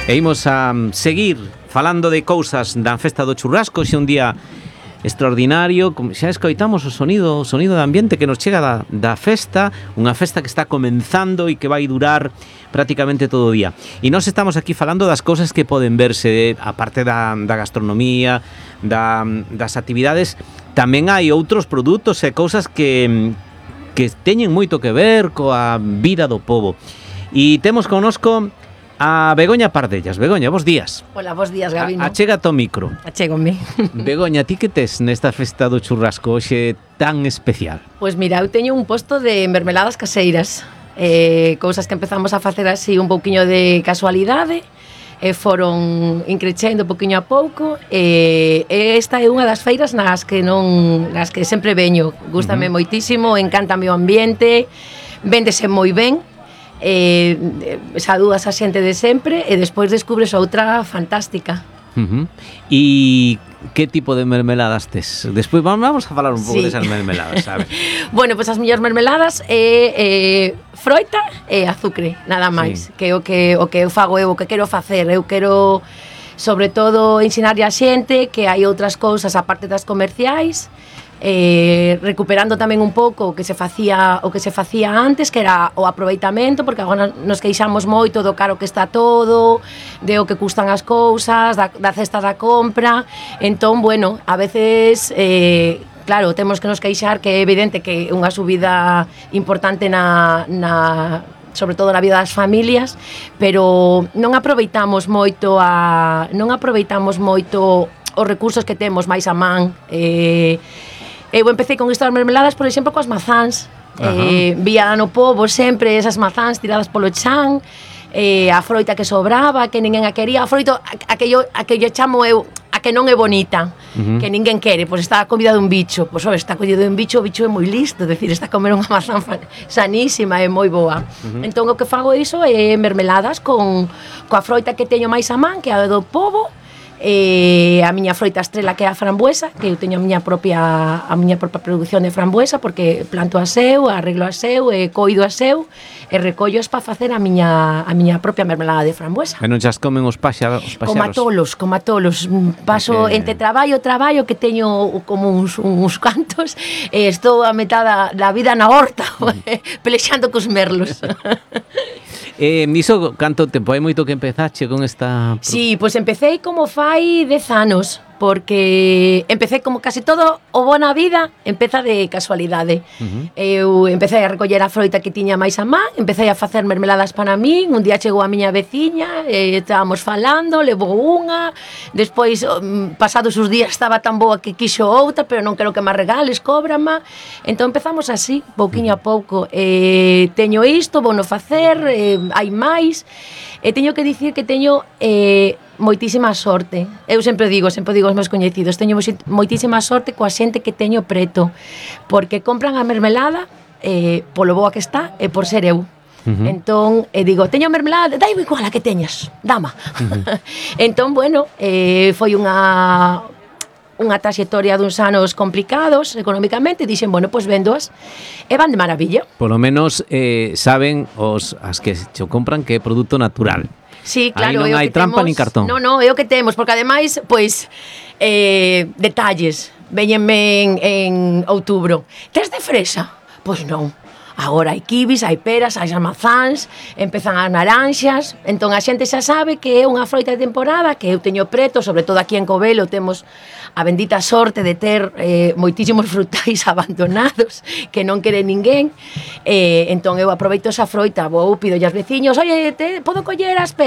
E imos a seguir falando de cousas da festa do churrasco. Xe un día extraordinario, xa escoitamos o sonido de ambiente que nos chega da festa, unha festa que está comenzando e que vai durar prácticamente todo o día. E nós estamos aquí falando das cousas que poden verse, a parte da gastronomía, das actividades. Tamén hai outros produtos e cousas que teñen moito que ver coa vida do pobo. E temos connosco a Begoña Pardellas. Begoña, bos días. Hola, bos días, Gabino. Achégate ao micro. Achégome. Begoña, ti que tes nesta festa do churrasco hoxe tan especial? Pois mira, eu teño un posto de mermeladas caseiras, cousas que empezamos a facer así un pouquiño de casualidade, foron increcendo pouquiño a pouco, esta é unha das feiras nas que sempre veño. Gústame moitísimo, encántame o ambiente, véndese moi ben. Saúdas a xente de sempre e despois descubres outra fantástica. E que tipo de mermeladas tes? Despois vamos a falar un pouco desas mermeladas, sabes? Bueno, pois as miñas mermeladas é froita e azucre, nada máis. Que o que eu fago, o que quero facer. Eu quero, sobre todo, ensinarlle a xente que hai outras cousas aparte das comerciais, recuperando tamén un pouco o que se facía antes, que era o aproveitamento, porque agora nos queixamos moito do caro que está todo, de o que custan as cousas, da cesta da compra. Entón, bueno, a veces claro, temos que nos queixar, que é evidente que unha subida importante sobre todo na vida das familias, pero non aproveitamos moito os recursos que temos máis a man. Eu empecé con estas mermeladas, por exemplo, coas mazáns. Vía no pobo sempre esas mazáns tiradas polo chan, a froita que sobraba, que ninguén a quería, a froita a que lle chamo eu a que non é bonita, que ninguén quere, pois está a comida dun bicho. Pois está a comida dun bicho, o bicho é moi listo, decir, está a comer unha mazán sanísima e moi boa. Entón o que fago iso é mermeladas coa froita que teño máis a man, que é a do pobo, a miña froita estrela, que é a frambuesa, que eu teño a miña propia produción de frambuesa, porque planto a seu, arreglo a seu, coido a seu e recollos para facer a miña propia mermelada de frambuesa. E non xas comen os paxaros? Como a tolos. Paso entre traballo, que teño como uns cantos, e estou a metade da vida na horta, pelexando cos merlos. Niso, canto tempo? Hai moito que empezache con esta... Sí, pois empecé como fai 10 anos, porque empecé como casi todo o bo na vida, empeza de casualidade. Eu empecé a recoller a froita que tiña máis a man, empecé a facer mermeladas para min, un día chegou a miña veciña, estábamos falando, levou unha, despois, pasados os días, estaba tan boa que quixo outra, pero non quero que me regales, cóbrama. Entón empezamos así, pouquiño a pouco. Teño isto, vou no facer, hai máis, e teño que dicir que teño moitísima sorte. Eu sempre digo aos meus coñecidos, teño moitísima sorte coa xente que teño preto, porque compran a mermelada polo boa que está e por ser eu. Entón, digo, teño mermelada, dai igual a que teñas, dama. Entón, bueno, foi unha traxectoria duns anos complicados económicamente, dixen, bueno, pois véndoas e van de maravilla. Por lo menos saben as que se compran que é produto natural. Sí, claro, aí non hai trampa nin cartón. Non, é o que temos, porque ademais, pois, detalles, véñenme en outubro. Tes de fresa? Pois non. Agora hai kibis, hai peras, hai mazáns, empezan as naranxas, entón a xente xa sabe que é unha froita de temporada, que eu teño preto, sobre todo aquí en Covelo temos a bendita sorte de ter moitísimos frutais abandonados que non quere ninguén, entón eu aproveito esa froita, pido aos veciños, oye, podo coller as peras?